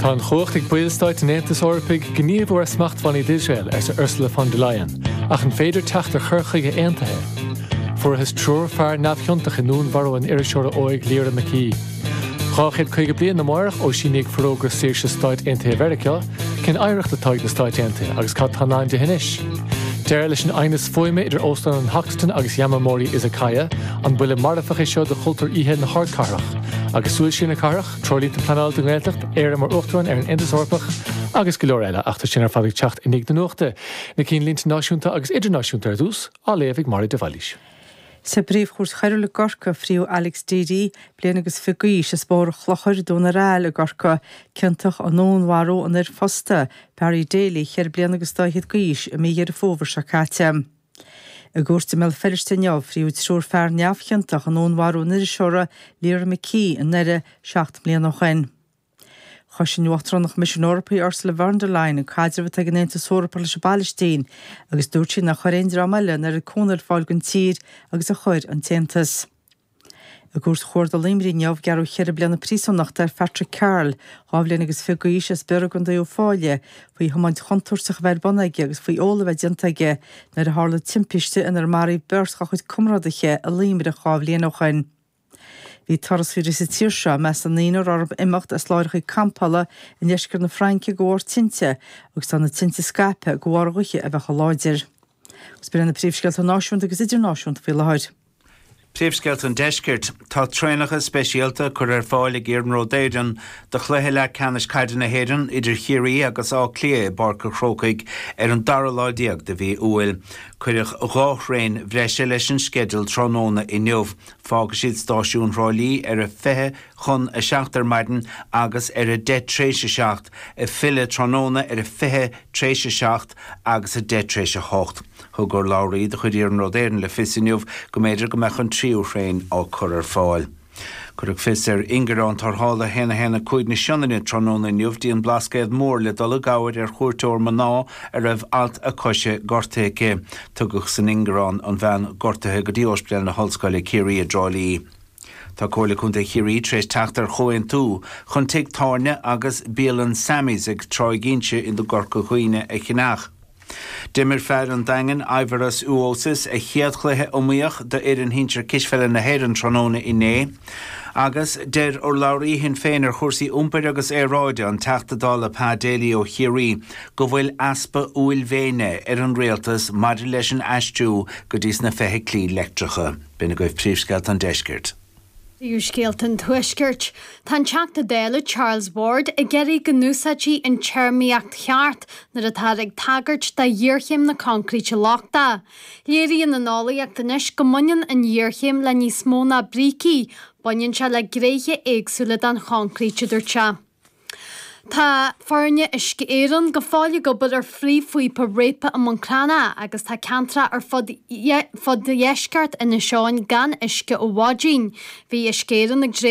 Tá an chumhacht ag ballstáit an Aontais Eorpaigh gníomhú ar smachtbhannaí d'Iosrael, arsa Ursula von der Leyen, ach an féidir teacht ar chur chuige aontaithe? Fuarthas triúr fear neamhchiontach i ndúnmharú an iriseora óig Lyra McKee. 250 bliain amárach ó síníodh Forógra Saoirse Stáit Aontaithe Mheiriceá, cén oidhreacht atá ag na Stáit Aontaithe agus cad tá i ndán di anois? Deireadh leis an aighneas fuaime idir Óstán an Hoxton agus Yamamori Izakaya, an buille marfach é seo do chultúr oíche na hardcathrach? Agus súil siar na cathrach, treoirlínte pleanála don nGaeltacht, Éire mar Uachtarán ar an Aontas Eorpach agus go leor eile, ach tá sin ar fad ag teacht i ndiaidh na nuachta. Na cinnlínte náisiúnta agus idirnáisiúnta ar dtús, á léamh ag Máire de Bhailís. Sa bPríomh-Chúirt Choiriúil i gCorcaigh, fríodh Alex Deady, bliain agus 20 d'aois, as Bóthar an Chlochair, Dún ar Aill i gCorcaigh, ciontach i ndúnmharú an fhir phósta, Barry Daly, cheithre bliana agus dá fhichead d'aois, i mí Dheireadh Fómhair seo caite. I gcúirt i mBéal Feirste inniu, fríodh triúr fear neamhchiontach i ndúnmharú an iriseora Lyra McKee i nDoire seacht mbliana ó shin. Chosain Uachtarán an Choimisiúin Eorpaigh Ursula von der Leyen an caidreamh atá ag an Aontas Eorpach leis an bPalaistín agus dúirt sí nár chuir aon dream eile an oiread cúnamh ar fáil don tír agus a chuir an tAontas. I gCúirt Chuarda Luimnigh inniu, gearradh cheithre bliana príosúnachta ar Phatrick Carroll, 2 bhliain agus 20 d'aois, as Biorra i gContae Uíbh Fhailí, faoi thiomáint chontúirteach a bheith ar bun aige agus faoi ól a bheith déanta aige nuair a tharla timpiste inar maraíodh beirt dá chuid comrádaithe i Luimneach 2 bhliain ó shin. Bhí turasóirí sa tír seo i measc na ndaoine a raibh orthu imeacht as láithreacha campála i ndeisceart na Fraince de bharr tinte agus tá na tinte scaipthe de bharr gaoithe a bheith chomh láidir. Agus b'in iad na príomhscéalta náisiúnta agus idirnáisiúnta faoi láthair. Príomhscéalta an Deiscirt. Tá traenacha speisialta curtha ar fáil ag Iarnród Éireann do chluiche leathcheannais caide na hÉireann idir Chiarraí agus Áth Cliath i bPáirc an Chrócaigh ar an dara lá déag de mhí Iúil. Cuireadh 2 thraein bhreise leis an sceideal tráthnóna inniu. Fágfaidh siad stáisiún Thrá Lí ar a 20 chun 7 ar maidin agus ar a 10 tréis 7, ag filleadh tráthnóna ar a 20 tréis 7 agus a 10 tréis 8. Thug urlabhraí de chuid Iarnród Éireann le fios inniu go mb'fhéidir go mbeadh an tríú thraein á cur ar fáil. Cuireadh fios ar ingearán tarrthála 1 1 5 na Sionainne tráthnóna inniu dtí an Blascaod Mór le dul i gcabhair ar chuairteoir mná a raibh alt a coise gortaithe aici. Tugadh san ingearán an bhean gortaithe go dtí Ospidéal na hOllscoile Ciarraí i dTrá Lí. Tá Comhairle Contae Chiarraí tar éis teacht ar chomhaontú chun tigh tábhairne agus bialann Sammy's ag Tráigh Inse i gCorca Dhuibhne a cheannach. D'imir fear an Daingin, Aivaras Uosis, a chéad chluiche iomaíoch d'fhoireann shinsir cispheile na hÉireann tráthnóna inné. Agus deir urlabhraí Shinn Féin ar chúrsaí iompair agus aeráide, an Teachta Dála Pa Daly ó Chiarraí, go bhfuil easpa uaillmhéine ar an rialtas maidir leis an aistriú go dtí sna feithiclí leictreacha. B'in agaibh príomhscéalta an deiscirt. Príomhscéalta an Tuaiscirt. Tá an Teachta Dála Charles Ward ag iarraidh go n-úsáidfí an téarmaíocht cheart nuair atáthar ag tagairt do ghéarchéim na coincréite lochtaí. Léiríonn an eolaíocht anois go mbaineann an ghéarchéim le níos mó ná brící, baineann sé le gnéithe éagsúla den choincréit, a dúirt sé. Tá foirne Uisce Éireann go fóill ag obair ar phríomhphíopa réabtha i mBun Cranncha agus tá ceantracha ar fud fud dheisceart Inis Eoghain gan uisce ó mhaidin. Bhí Uisce Éireann ag.